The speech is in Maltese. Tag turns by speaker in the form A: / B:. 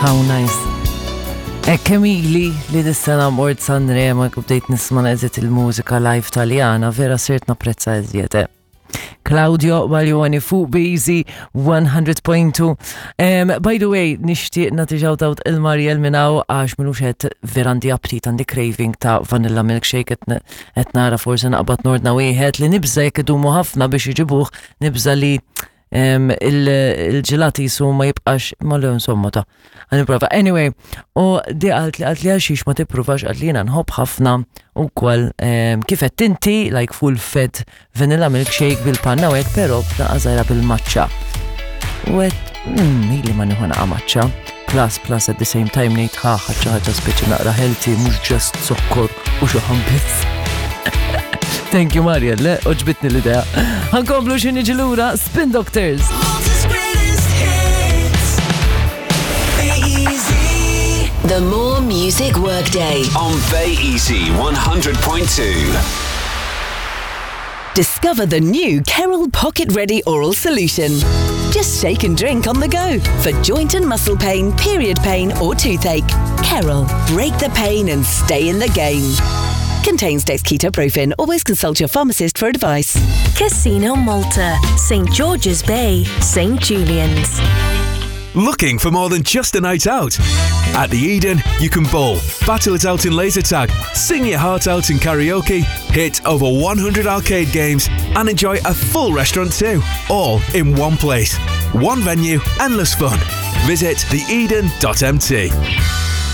A: How nice. Hekk kemm ili li dis-sena mort Sanremo u bdejt nisma' eżiet il-mużika live Taljana, vera sirt napprezza eżiet. Eh. Claudio Baglioni fuq Beezy 100.2. Um, by the way, nixtieq nagħti shout out il-Mariel minn hawn għax minux qed vera għandi aptit għandi craving ta' vanilla milkshake qed nara forsi naqbad nordna wieħed li nibża jekk idumu ħafna biex iġibuh nibża li il-ġelat jisu ma jibqax ma le insomma ta' għan Anyway, u di għalt li għalt li għaxix ma tippruvax għalt li jena nħobb ħafna u kwal kif qed inti like full fed vanilla milkshake bil-panna u hekk però b'naqqa bil-maċċa. U għedt, mm, ili ma nieħu naqa' maċċa. Plus, plus at the same time ngħid ħa ħaġa ħaġa speċi naqra healthy, mhux just zokkor u xi biss. Thank you Mariel, le, oġbitni l-idea. Ħankomplu xi niġi lura Spin Doctors.
B: The More Music Workday.
C: On Bay Easy 100.2.
B: Discover the new Kerol Pocket Ready Oral Solution. Just shake and drink on the go for joint and muscle pain, period pain, or toothache. Kerol, break the pain and stay in the game. Contains dexketoprofen. Always consult your pharmacist for advice.
D: Casino Malta, St. George's Bay, St. Julian's.
E: Looking for more than just a night out? At the Eden, you can bowl, battle it out in laser tag, sing your heart out in karaoke, hit over 100 arcade games, and enjoy a full restaurant too. All in one place. One venue, endless fun. Visit theeden.mt.